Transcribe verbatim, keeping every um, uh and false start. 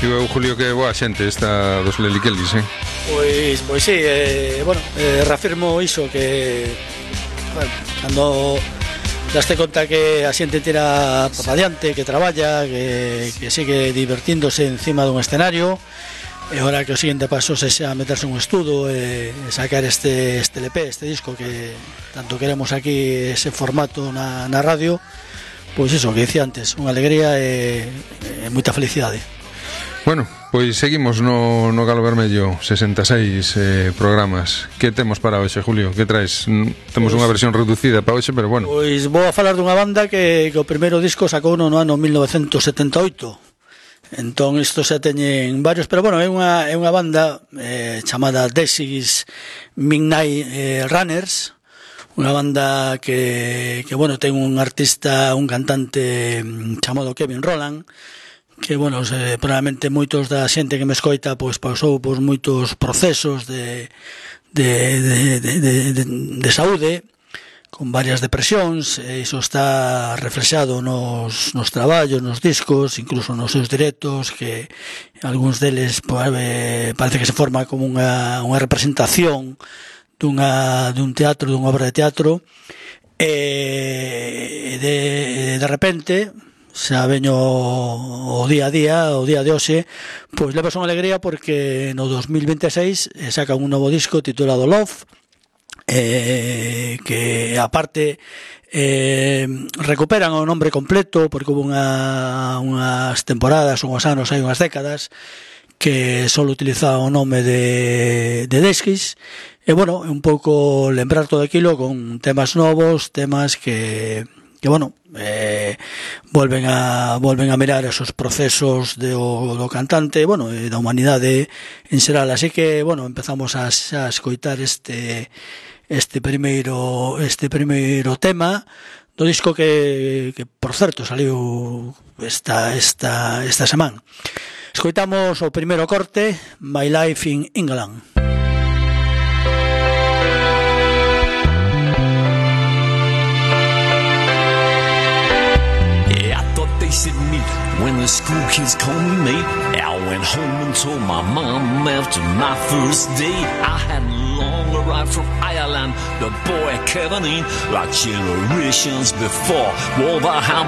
Digo, Julio, que boa xente esta dos Leliquelis, eh? Pois, pois sí, eh, bueno, eh, reafirmo iso que bueno, cando daste conta que a xente tira para adiante, que traballa, que, que sigue divertíndose encima dun escenario, e ora que o seguinte paso sexa meterse un estudo e sacar este, este L P, este disco que tanto queremos aquí, ese formato na, na radio. Pois iso que dicía antes, unha alegría e, e moita felicidade. Bueno, pois seguimos no, no Galo Vermello, sesenta e seis eh, programas. Que temos para hoxe, Julio? Que traes? Temos pois, unha versión reducida para hoxe, pero bueno. Pois vou a falar dunha banda que, que o primeiro disco sacou no ano mil novecentos setenta e oito. Entón isto xa teñen varios, pero bueno, é unha, é unha banda eh, chamada Dexys Midnight eh, Runners, unha banda que, que bueno, ten un artista, un cantante chamado Kevin Rowland, que, bueno, se, probablemente moitos da xente que me escoita pois pasou por moitos procesos de, de, de, de, de, de, de saúde, con varias depresións, e iso está reflexado nos, nos traballos, nos discos, incluso nos seus directos, que algúns deles pois, eh, parece que se forma como unha, unha representación dunha, dun teatro, dunha obra de teatro, e de, de repente xa veño o día a día, o día de hoxe, pois levas unha alegría porque no dos mil veintiséis sacan un novo disco titulado Love, eh, que aparte eh, recuperan o nombre completo porque hubo unha, unhas temporadas, unhos anos, hai unhas décadas que só utilizaban o nome de, de Dexys. E, bueno, un pouco lembrar todo aquilo con temas novos, temas que, que bueno, eh, volven a volven a mirar esos procesos de o, do cantante, bueno, e da humanidade en xeral. Así que, bueno, empezamos a, a escoitar este este primeiro este primeiro tema do disco que, que por certo, saliu esta esta esta semana. Escoitamos o primeiro corte, My Life in England. At me when the school kids called me mate. I went home and told my mom after my first day. I had long arrived from Ireland, the boy Kevin in, like generations before. Wolverhampton